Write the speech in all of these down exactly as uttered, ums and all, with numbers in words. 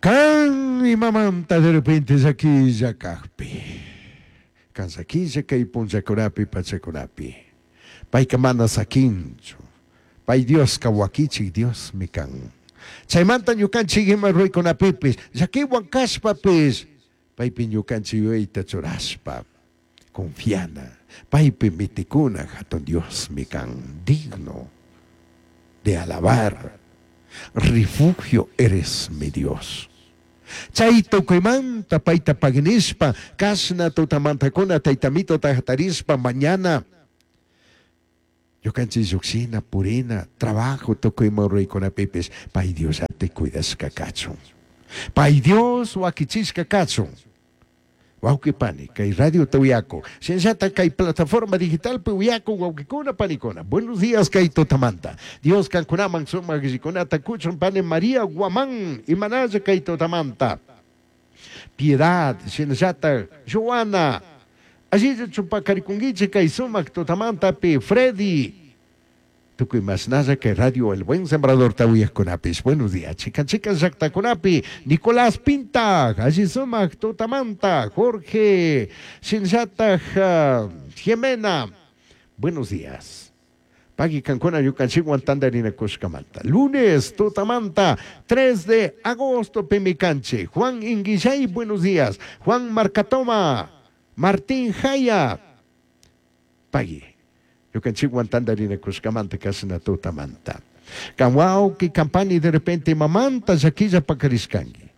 Kan imamanta de repente llaquilla kajpi. Kan llaquilla kay punllakunapi pachakunapi. Payka mana sakinchu. Pay Dioska wakichik Diosmi kan. Chaymanta ñukanchik ima ruraykunapipis llakiwan kashpapis paypi ñukanchik yuyayta churashpa confiana paypi mitikuna hatun Diosmi kan digno de alabar. Refugio eres mi Dios. Chay tukuymanta payta paginishpa kashna tutamantakuna taytamitota hatarishpa mañana ñukanchik lluqshina purina trabajo tukuyman ruraykunapipis pay Diosllata cuidashka kachun. Pay Dios wakichishka kachun. Wawqi pani, kay radiota uyaku, shinallata kay plataforma digitalpi uyaku wawqikuna panikuna. Buenos días kay tutamanta. Dios kankunaman sumaq allikunata kuchun pani María Guamán imanalla kay tutamanta. Piedad, shinallata Joana, allilla chupakarikunkichik kay sumaq tutamantapi Freddy. Tukuy masnalla kay radio El Buen Sembrador uyaqkunapis. Buenos días, chikan chikan llaqtakunapi. Nicolás Pinta, alli sumaq tutamanta. Jorge, shinallataq uh, Jimena. Buenos días. Pagui kankuna ñukanchikwan tantarinakushkamanta. Lunes, tutamanta, tres de agosto, pimikanchik. Juan Inguillay, buenos días. Juan Marcatoma, Martín Jaya. Pagui. Ñukanchikwan tantarinakushkamanta kashna tutamanta. Kan wawqi kampani de repente mamanta llaquilla pakarishkanki.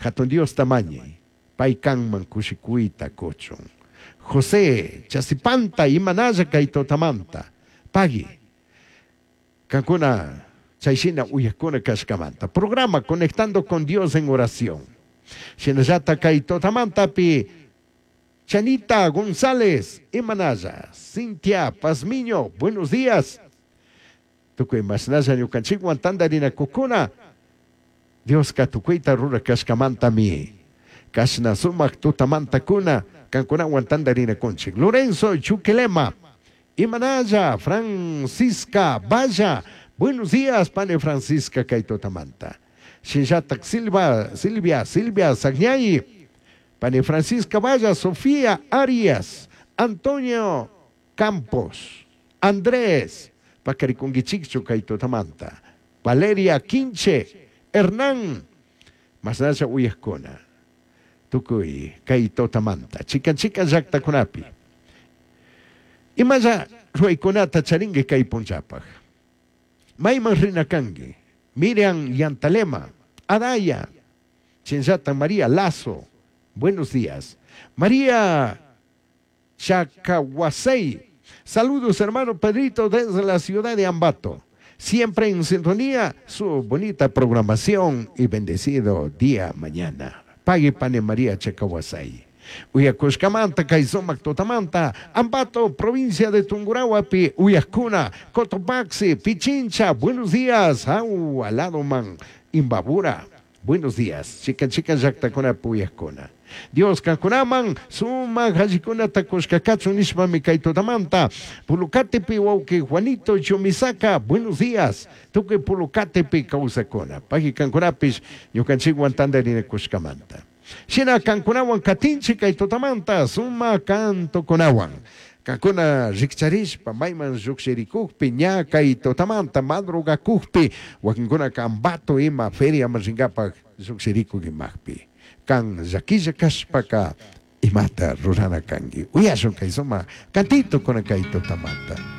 Hatun Dios tamañi, pay kanman kushikuyta kuchun. José, Chasipanta, imanalla kay tutamanta. Pagui. Kankuna, chayshina uyakuna kashkamanta. Programa Conectando con Dios en Oración. Shinallata kay tutamantapi Chanita González, Imanaya, Cintia Pazmiño, buenos días. Tukuy masnalla ñukanchikwan tantarinakukuna. Dioska tukuyta rurakashkamantami. Kashna sumak tutamantakuna, kankunawan tantarinakunchik. Lorenzo Chuquilema, Imanaya, Francisca Valla, buenos días, pane Francisca kay tutamanta. Shinllatak Silva, Silvia, Silvia Sagñay, pane Francisca Valla, Sofía Arias, Antonio Campos, Andrés, Pacarikunguichikchu kay tutamanta, Valeria Quinche, Hernán, Masnalla uyaqkuna, tukuy kay tutamanta, chikan chikan llaqtakunapi. Imalla ruwaykunata charinki kay punchapaq. Mayman rina kanki, Miriam Yantalema, Adaya, Chinllata María Lazo, buenos días. María Chacahuasey, saludos hermano Pedrito desde la ciudad de Ambato. Siempre en sintonía, su bonita programación y bendecido día mañana. Pague pane María Chacahuasey. Uyakushkamanta, kay sumak tutamanta, Ambato, provincia de Tungurahuapi, Uyakuna, Cotopaxi, Pichincha, buenos días, Au, Aladoman, Imbabura, buenos días, chica chica llaqtakuna puyakuna. Dios kankunaman, sumak allikunata kushkakachun nishpami kay tutamanta, Pulucatepi wawqi Juanito Chumisaca, buenos días, tukuy Pulucatepi kawsakuna, pagui kankunapish ñukanchikwan tantarinakushkamanta. Shina kankunawan katinchik kay tutamanta, suma kantukunawan. Kankuna rikcharishpa, mayman lluqshirikukpi, ña kay tutamanta, madrugakukpi, wakinkunaka Ambato ima feriaman rinkapak lluqshirikuk imaqpi. Kan llakilla kashpaka imata rurana kanki. Uyashun kay suma cantito kuna kay tutamanta.